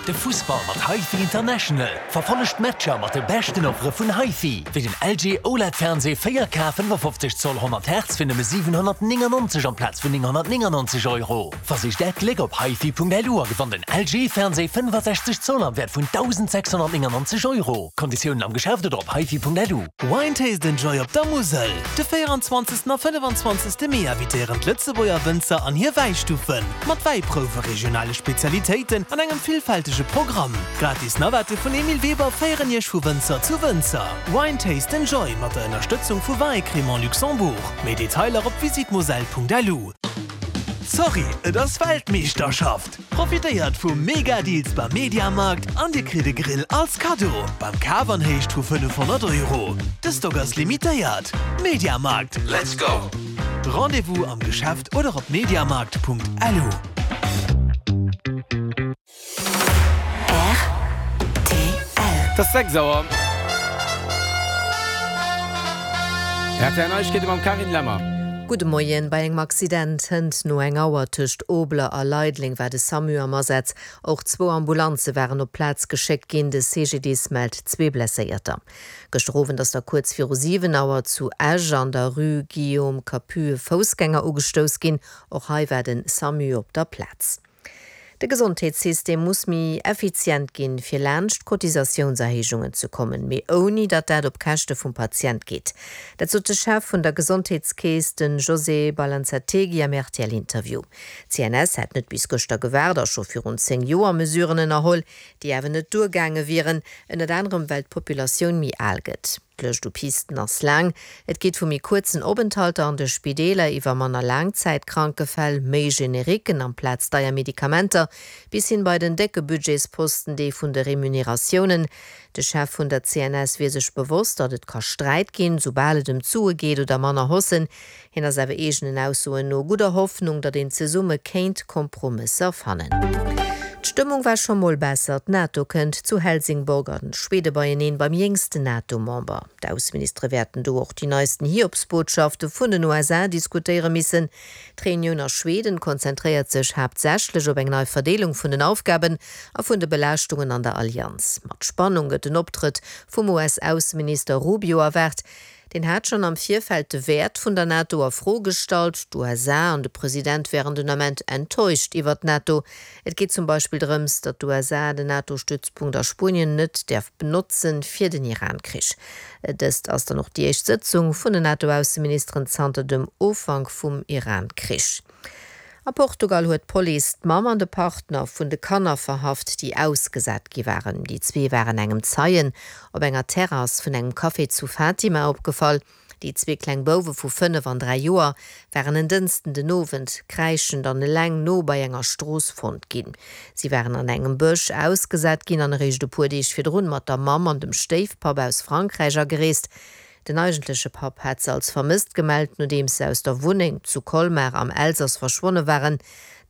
De Fussball mat HiFi International. Verfollegt d'Matcher mat de beschten Offere vun HiFi, wéi den LG OLED Fernseh 4K 55 Zoll 100 Hertz fir nëmme 799 amplaz vun 999 Euro. Versicht äert Gléck op hifi.lu a gewannt en LG Fernseh 65 Zoll am Wäert vun 1.699 Euro. Konditiounen am Geschäft oder op hifi.lu. Wine Taste and Joy op der Musel! De 24. a 25. Mee invitéieren d'Lëtzebuerger Wënzer an hir Wäistuffen, mat Wäiprouwe, regionale Spezialitéiten an engem villfältege Programm. Gratis Navette vun Emile Weber féieren Iech vu Wënzer zu Wënzer. Wine Taste and Joy mat der Ënnerstëtzung vu Vin et Crémant Luxembourg. Méi Detailer op visitmoselle.lu. Sorry, et ass Weltmeeschterschaft! Profitéiert vu mega Deals beim Mediamarkt an dir kritt e Grill als Kaddo beim Kaf an Héicht vu 500 Euro. De Stock ass limitéiert. Mediamarkt, let's go! Rendez-vous am Geschäft oder op mediamarkt.lu. Et ass 6 Auer. Rtl Neiegkeete mam Carine Lemmer. Gudde Moien. Bei engem Accident hënt no eng Auer tëscht Obler a Leideleng war de Samu am Asaz. Och zwou Ambulanze waren op d'Plaz geschéckt ginn. De CGDIS mellt zwee Blesséierter. Gëschter Owend ass da kuerz viru 7 Auer zu Esch an der Rue Guillaume Capus e Foussgänger ugestouss ginn. Och hei war de Samu op der Plaz. De Gesondheetssystem muss méi effizient ginn, fir laanscht d'Cotisatiounserhéijungen ze kommen, mee ouni datt dat op Käschte vum Patient geet. Dat sot de Chef vun der Gesondheetskeess, de José Balanzategui am RTL-Interview. D'CNS hätt net bis gëschter gewaart a scho virun 10 Joer Mesuren ënnerholl, déi awer net duergaange wieren, ënnert anerem well d'Populatioun méi al gëtt. D'Lëscht u Pisten ass laang. Et geet vu méi kuerzen Openthalter an de Spideeler iwwer manner Laangzäitkranke-Fäll, méi Generiquen amplaz deier Medikamenter, bis hin bei den décke Budgetsposten, dee vun de Remuneratiounen. De Chef vun der CNS wier sech bewosst, datt et ka Sträit ginn, soubal et ëm d'Sue geet oder manner Haussen. Hien ass awer eegenen Aussoen no gudder Hoffnung, datt een zesumme kéint Kompromësser fannen. D'Stëmmung war scho mol besser, D'NATO kënnt zu Helsingborg a Schwede beieneen beim jéngsten NATO-Member. D'Ausseministere wäerten do och déi neisten Hiobsbotschafte vun den USA diskutéiere missen. D'Reunioun a Schweden konzentréiert sech haaptsächlech op eng nei Verdeelung vun den Aufgaben a vun de Belaaschtungen an der Allianz. Mat Spannung gëtt den Optrëtt vum US-Ausseminister Rubio erwaart. Deen hat schonn am Virfeld de Wäert vun der NATO a Fro gestallt. D'USA an de President wären den Ament enttäuscht iwwer d'NATO. Et geet zum Beispill drëms, datt d'USA den NATO-Stützpunkt a Spuenien net däerf benotzen fir den Iran-Krich. Dëst ass dann och déi éischt Sëtzung vun den NATO-Ausseministeren zanter dem Ufank vum Iran-Krich. A Portugal huet d'Police d'Mamm an de Partner vun de Kanner verhaft, déi ausgesat gi waren. Déi zwee waren engem Zeien op enger Terrass vun engem Café zu Fatima opgefall. Déi zwee kleng Bouwe vu 5 an 3 Joer waren en Dënsten den Owend kräischend an eleng no bei enger Strooss fonnt ginn. Si waren an engem Bësch ausgesat ginn an eréischt e puer Deeg virdrun mat der Mamm an dem Stéifpapp aus Frankräich agereest. Den eigentleche Papp hat se als vermësst gemellt, nodeems se aus der Wunneng zu Colmar am Elsass verschwonne waren.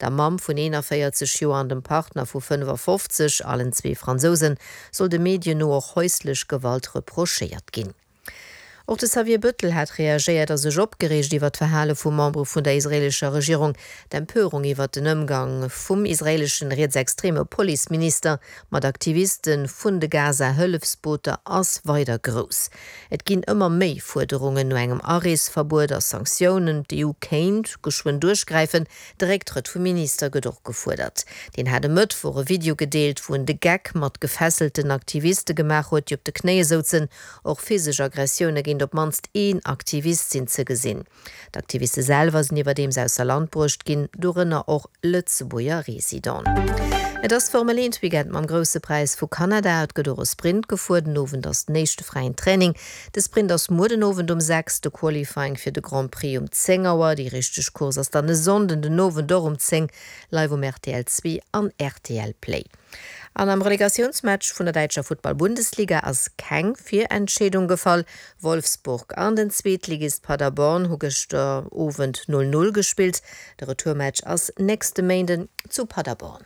Der Mamm vun 41 Joer an dem Partner vu 55, allen zwee Fransousen, soll de Medien no och häuslech Gewalt reprochéiert ginn. Och de Xavier Bettel hat reagéiert a sech opgereegt iwwer d'Verhale vu Membere vun der israeelescher Regierung. D'Empörung iwwer den Ëmgang vum israeeleschen rietsextreme Policeminister Mat Aktiviste vun de Gaza-Hëllefsbooter ass weider grouss. Et ginn ëmmer méi Fuerderungen no engem Areesverbuet a Sanktiounen. D'EU kéint geschwënn duerchgräifen. De Récktrëtt vum Minister gëtt och gefuerdert. Deen hat e Mëttwoch e Video gedeelt, wou en de Geck mat gefesselten Aktiviste gemaach huet, déi op de Knéie souzen. Och physesch Aggressioune géint op d'mannst een Aktivist sinn ze gesinn. D'Aktiviste selwer sinn iwwerdeems ausser Land bruecht ginn, dorënner och Lëtzebuerger Residenten. Et ass Formel 1 Weekend mam Grousse Präis vu Kanada. Et gëtt och e Sprint gefuer. Den Owend ass den éischte fräien Training. De Sprint ass muer den Owend um 6, de Qualifying fir de Grand Prix um 10 Auer. Déi richteg Course ass dann e Sonnden den Owend och um 10, live um rtl 2 an rtl Play. An am Relegatiounsmatch vun der däitscher Futtball-Bundesliga ass keng Virentscheedung gefall. Wolfsburg an den Zweetligist Paderborn hu gëschter Owend 0, 0 gespillt. De Retourmatch ass nächste Méinden zu Paderborn.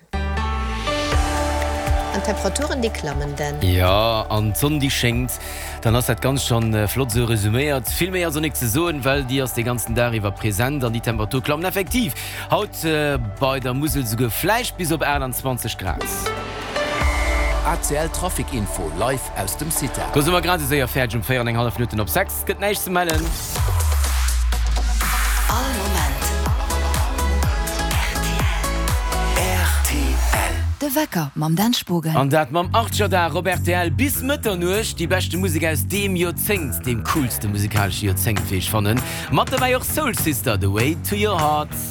An d'Temperaturen déi klammen denn. Jo, an d'Sonn déi schéngt. Dann ass dat Ganzt schonn flott esou resuméiert. Vill méi ass och nik ze soen, well déi ass de ganzen Dag iwwer present an déi Temperatur klammen effektiv haut bei der Musel souguer vläicht bis op 28 Grad. ACL Trafic Info live aus dem CITA. Do si mer grad esou séier fäerdeg um 4 an eng hallef Minutten op 6. Et gëtt näischt ze mellen. All Moment rtl. De Wecker mam Dan Spogen. An dat mam Archerdag op rtl bis Mëtternuecht. Déi beschte Musek aus deem Joerzéngt, deem coolste musikalesche Joerzéngt, wéi ech fannen. Mat dobäi och Soul Sister, The Way to Your Heart.